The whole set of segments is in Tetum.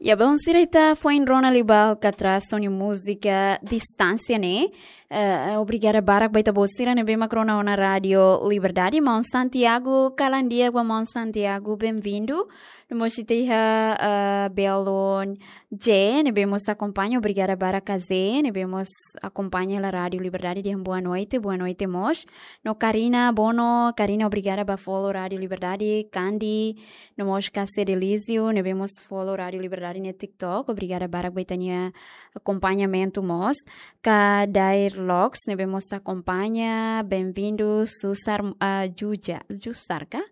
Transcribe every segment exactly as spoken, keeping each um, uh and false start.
Ya, belun sira, ita foin rona liu ba Alcatraz ho nia múzika Distánsia ne'e. Eh, obrigada barak ba ita-boot sira ne'ebé mak rona ona Rádiu Liberdade. Maun Santiago, kalan di'ak ba Maun Santiago, benvindu. No mós ita iha, eh, belun J, ne'ebé mós akompaña, obrigada barak ka J, ne'ebé mós akompaña hela Rádiu Liberdade dehan boa noite, boa noite mós. No Karina Bono, Karina, obrigada ba follow Rádiu Liberdade, Kandi, no mós ka Cedelísio, ne'ebé mós follow Rádiu Liberdade iha TikTok, obrigada barak ba ita-nia akompañamentu mós. Ka Dair Locks, ne'ebé mós akompaña, benvindu, Susar, ah, Juja, Jusar ka?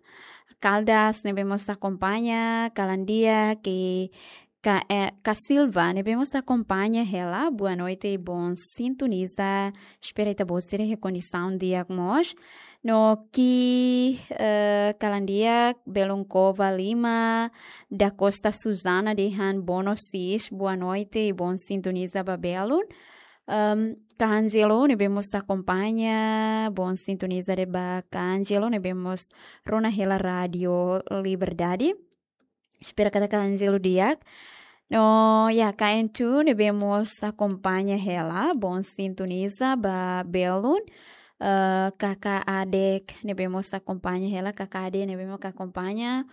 Caldas, ne'ebé mós akompaña, kalan di'ak, ke ka, eh, ka Silva, ne'ebé mós akompaña hela, boa noite, bom sintoniza, espera ita-boot sira iha kondisaun di'ak mós. No ki, eh, kalan di'ak, belun Cova Lima, da Costa Susana dehan boa noite, boa noite, bom sintoniza ba belun. Em, ka Angelo, ne'ebé mós akompaña, bom sintoniza de'it ba ka Angelo, ne'ebé mós rona hela Rádiu Liberdade. Espera katak ka Angelo di'ak. No, ya, ka Entu, ne'ebé mós akompaña hela, bom sintoniza ba belun. Eh, Kaka Adek, ne'ebé mós akompaña hela, Kaka Adek, ne'ebé mós akompaña.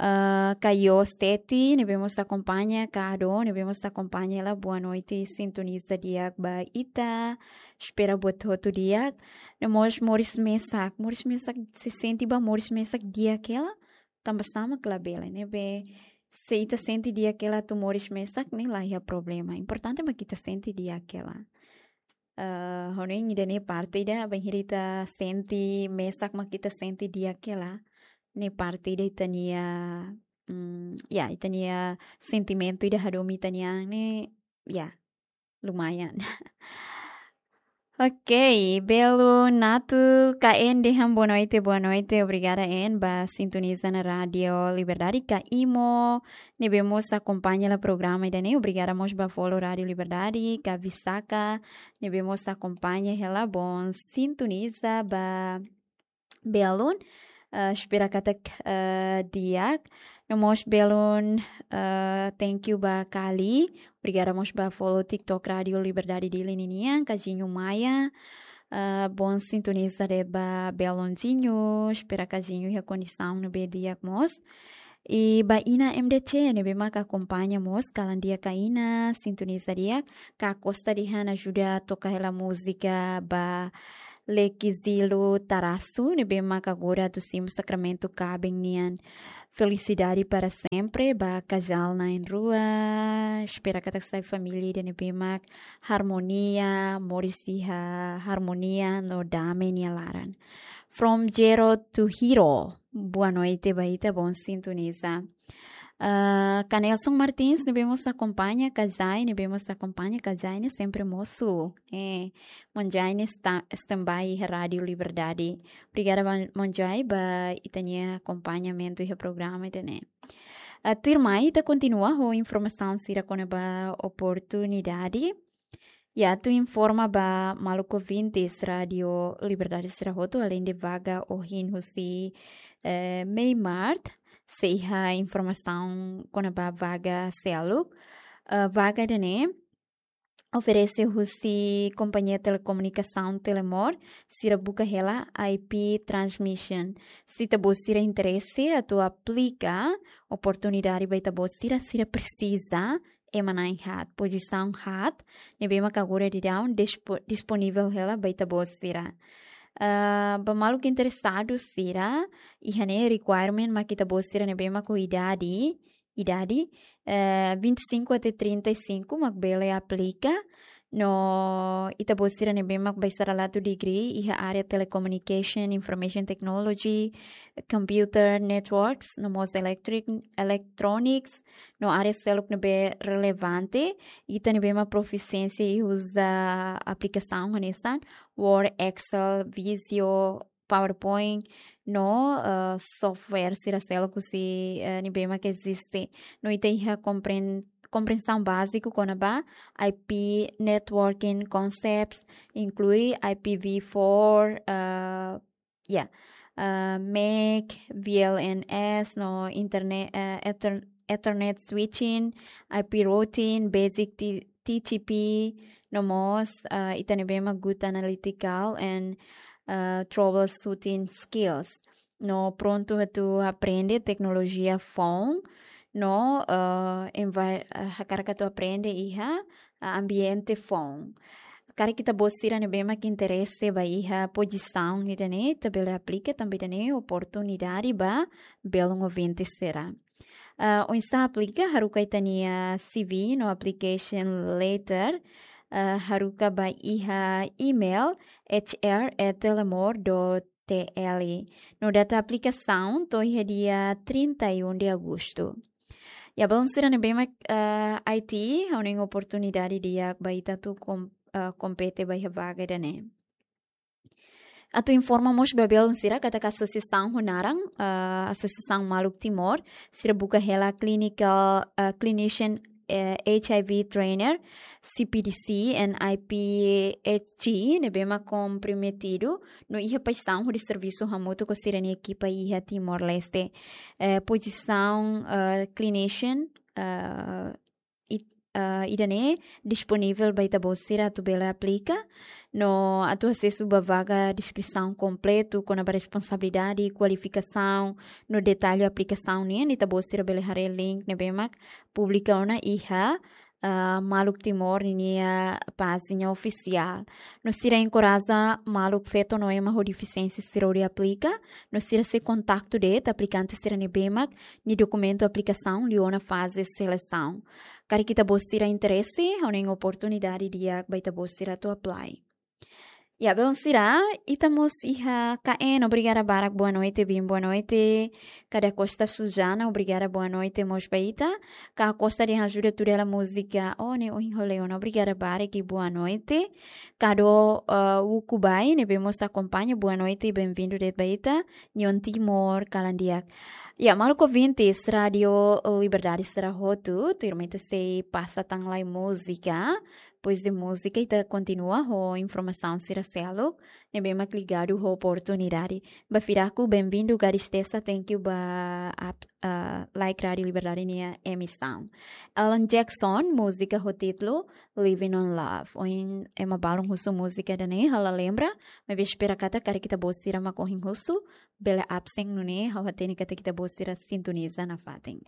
Eh, ka Yos Teti, ne'ebé mós akompaña, ka Ado, ne'ebé mós akompaña hela, boa noite, sintoniza di'ak ba ita. Espera buat hotu di'ak. No mós moris mesak, moris mesak, se sente ba moris mesak di'ak hela, tanba sá mak labele, ne'ebé se ita sente di'ak hela atu moris mesak ne'e la iha problema. Importante mak ita sente di'ak hela. Eh, hanoin ida-ne'e parte ida, bainhira ita sente mesak mak ita sente di'ak hela. Ne'e parte ida ita-nia, mm, ya, ita-nia sentimentu ida hadomi ita-nia an ne'e, ya, lumayan. Ok, belun Natu, ka N dehan boa noite, boa noite, obrigada N ba sintoniza ona Rádiu Liberdade, ka Imo, ne'ebé mós akompaña hela programa ida-ne'e, obrigada mós ba follow Rádiu Liberdade, ka Visaka, ne'ebé mós akompaña hela, bom sintoniza ba belun, eh, espera katak, eh, di'ak. No mós belun, eh, thank you ba Kali. Obrigada mós ba follow TikTok Rádiu Liberdade Dili ninian, ka Zinho Maia. Eh, bom sintoniza de'it ba belun Zinho. Espera ka Zinho iha kondisaun ne'ebé di'ak mós. I ba Ina M D C, ne'ebé mak akompaña mós, kalan di'ak ka Ina, sintoniza di'ak, ka Costa dehan ajuda toka hela múzika ba Lekizilo Tarasu, ne'ebé mak agora atu simu sakramentu kaben nian. Felicidade para sempre, ba kazál na'in-rua, espera katak sai família ida ne'ebé mak harmonia, moris iha harmonia no dame nia laran. From Zero to Hero, boa noite ba ita, bom sintoniza. Ah, ka Nelson Martins, ne'ebé mós akompaña, ka Zai, ne'ebé mós akompaña, ka Zai ne'e sempre mosu. Eh, Maun Zai ne'e sta-, standby iha Rádiu Liberdade. Obrigada ba Maun Zai ba ita-nia akompañamentu iha programa ida-ne'e. Ah, tuirmai ita kontinua ho informasaun sira kona-ba oportunidade. Ya, atu informa ba maluk ouvintes Rádiu Liberdade sira hotu, aleinde vaga ohin husi, eh, Meimart, sei iha informasaun kona-ba vaga seluk. Eh, vaga ida-ne'e oferese husi kompañia telekomunikasaun Telemor, sira buka hela I P transmission. Se ita-boot sira interese atu aplika oportunidade ba ita-boot sira, sira presiza ema na'in haat, pozisaun haat, ne'ebé mak agora daudaun dispo-, disponivel hela ba ita-boot sira. Ah, ba maluk interesadu sira, iha ne'e requirement mak ita-boot sira ne'ebé mak ho idade, idade, eh, vinte e cinco até trinta e cinco mak bele aplika. No ita-boot sira ne'ebé mak ba estrada atu degree iha área telecommunication, information technology, computer, networks, no mós electric, electronics, no área seluk ne'ebé relevante, ita ne'ebé mak profisiénsia iha uza aplikasaun hanesan Word, Excel, Visio, PowerPoint, no, eh, software sira seluk husi, eh, ne'ebé mak eziste. No ita iha kompren-, komprensaun báziku kona-ba I P networking concepts, inklui I P v four, eh, ya, uh, mac, V L N S, no internet, uh, ether, Ethernet switching, I P routing, basic T- T T P, no mós uh, ita ne'ebé mak good analytical and uh, troubleshooting skills. No prontu atu aprende teknolojia foun, no uh, envi- uh, hakarak atu aprende iha uh, ambiente foun. Karik ita-boot sira ne'ebé mak interese ba iha pozisaun ida-ne'e, ita bele aplika tanba ida-ne'e oportunidade ba belun ouvinte sira. Uh, oinsá aplika, haruka ita-nia C V no application letter, uh, haruka ba iha email H R at telemor dot T L. No data aplikasaun to'o iha dia trinta e um de agosto. Ya, belun sira ne'ebé mak uh, I T, ha'u hanoin oportunidade di'ak ba ita atu kom- uh, kompete ba iha vaga ida-ne'e. Atu informa mós ba belun sira katak asosiasaun ho naran, uh, Asosiasaun Maluk Timor, sira buka hela clinical, uh, clinician, uh, H I V trainer, C P D C and I P H G, ne'ebé mak komprometidu no iha paixaun hodi servisu hamutuk ho sira-nia ekipa iha Timor-Leste. Uh, pozisaun uh, clinician, uh, it- uh, ida-ne'e disponivel ba ita-boot sira atu bele aplika. No atu asesu ba vaga, deskrisaun kompletu kona-ba responsabilidade, kualifikasaun, no detalle aplikasaun nian, ita-boot sira bele haree link ne'ebé mak publika ona iha uh, Maluk Timor ninia pájina ofisiál. No sira enkoraja maluk feto no ema ho defisiénsia sira hodi aplika. No sira sei kontaktu de'it aplikante sira ne'ebé mak nia dokumentu aplikasaun liu ona faze selesaun. Karik ita-boot sira interese, ha'u hanoin oportunidade di'ak ba ita-boot sira atu apply. Ya, belun sira, ita mós iha K N, obrigada barak, boa noite, bin, boa noite. Kada Costa Sujana, obrigada, boa noite mós ba ita. Ka Costa de Ajuda tudo ela música, oh, ne'e ohin ha'u lee ona, obrigada barak, boa noite. Kado uh, Ukubai, ne'ebé mós akompaña, boa noite, bem-vindo de'it ba ita. Nyon Timor, kalan di'ak. Ya, maluk ouvintes, Rádio Liberdade sira hotu, tuirmai ita sei pasa tan lai múzika. Depois de múzika, ita kontinua ho informasaun sira seluk ne'ebé mak ligadu ho oportunidade. Ba Firaku, bem-vindo, Gadis Tesa, thank you ba ap- uh, like Rádio Liberdade nia emisaun. Alan Jackson, múzika ho títulu Living on Love. Ohin ema balun husu múzika ida-ne'e, ha'u la lembra, maibé espera katak karik ita-boot sira mak ohin husu, bele absen nune'e, ha'u hatene katak ita-boot sira sintoniza nafatin.